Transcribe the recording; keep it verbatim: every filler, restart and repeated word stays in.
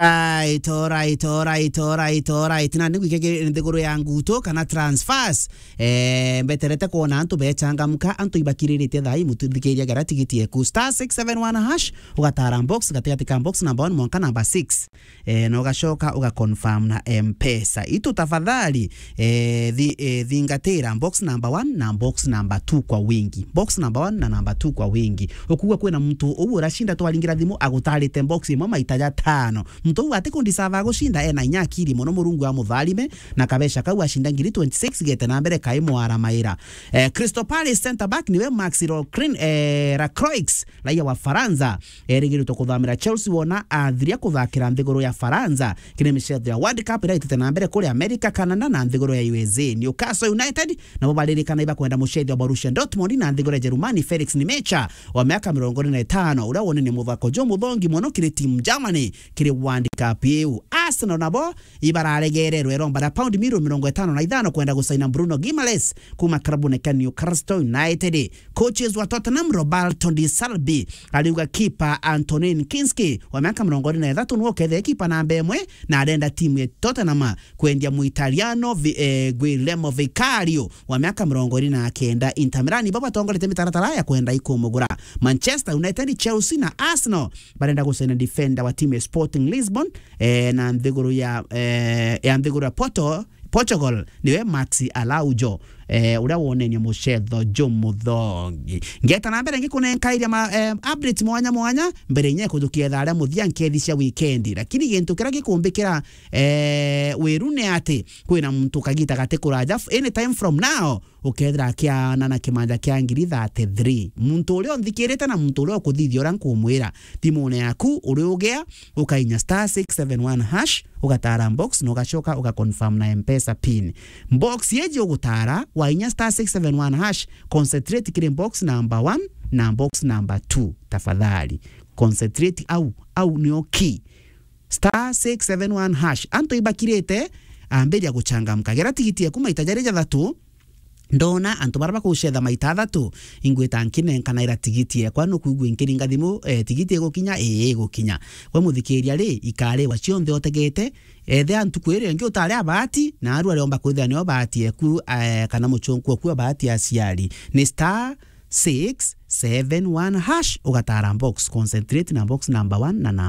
Alright, alright, alright, alright, alright. Na niguike nthiguru ya nguto kana transfers. Eh, mbeterete kwona antu bechangamka, antu ibakiriritie thaa ii, mutithikiria gara tigiti eku star six seven one hash, ugatara box gatigati ka box number one mwanka number six. Eh, na ugacoka uga confirm na M-Pesa. Itu tafadhali, eh, thi-, eh, thingatira box number one na box number two kwa wingi. Box number one na number two kwa wingi. Ukugua kwina muntu uu uracinda twaringira thimu agutarite box imwe maita jatano. Muntu uu atikundisava gucinda ena inya akiri mono, Murungu amutharime, na kabeca kau acinda ngiri twenty-six gete na mbere kai mwaramaira. Eh, Crystal Palace centre back niwe Maxi Lorcrin-, eh, Lacroix, raia wa Faransa. Erigirite kuthamira Chelsea wona athiria kuthakira nthiguru ya Faransa kiri micetho ya World Cup iria itite na mbere kuri America, Canada na nthiguru ya U S A. Newcastle United nabo baririkana ibakwenda mucethi wa Borussia Dortmund na nthiguru ya Jerumani Felix Nmecha wa miaka mirongo iri na itano, uria wonenie muthako jumuthongi mono kiri timu Germany kiri World Cup iu. Arsenal nabo ibararegererwe iromba ria paundi mirioni mirongo itano na ithano kwenda gusaina Bruno Guimaraes kuma klabune kia Newcastle United. Coaches wa Tottenham, Roberto De Zerbi, ariuga kipa Antonin Kinski wa miaka mirongo iri na ithatu niwe ukethire kipa namba imwe, na arenda timu ya Tottenham kwendia Muitaliano Vi-, eh, Guillermo Vicario wa miaka mirongo iri na kenda. Inter Milan ibo batongoretie mitaratara ya kwenda ikumugura. Manchester United, Chelsea na Arsenal barenda gucaina defender wa timu ya Sporting Lisbon, eh, na nthiguru ya, eh, ya nthiguru ya Porto, Portugal, niwe Maxi Araujo, eh, uria wonenie mucetho jumuthongi. Ngeta na mbere ngikunenkairia ma, eh, update mwanya mwanya, mbere inya kujukia thaa ria muthia nkethi cia weekend. Lakini gintu kiria gikumbikira, eh, wiru ni ati kwina muntu kagita gati kuraja, f-, any time from now, ukethira akiana na kimanja kia ngiri thirty-three. Muntu uria unthikirite na muntu uria ukuthithia uria nkumwira, thimune yaku uri ugea, ukainya star six seven one hash, ugatara box na ugacoka uga confirm na M-Pesa pin. Box yeji ugutara, wainya star six seven one hash, concentrate kiri box number one na box number two. Tafadhali, concentrate au, au nio key. Star six seven one hash. Antu ibakirite, ambiria guchangamka. Gera tigiti eku maita jari jathatu, ndona antu bara bakucetha maita athatu, ingwita nkinenkanaira tigiti ekwa, nukwigua nkiringa thimu, eh, tigiti igukinya? Ii, igukinya. We muthikiria ri, ikariwa cionthe utegete, ethia ntuku iria ingi utari a bahati, na aru ariomba kwithira nio bahati eku, eh, kana muchunku oku wa bahati aciari. Ni star six seven one hash, ugatara box, concentrate na box number one na number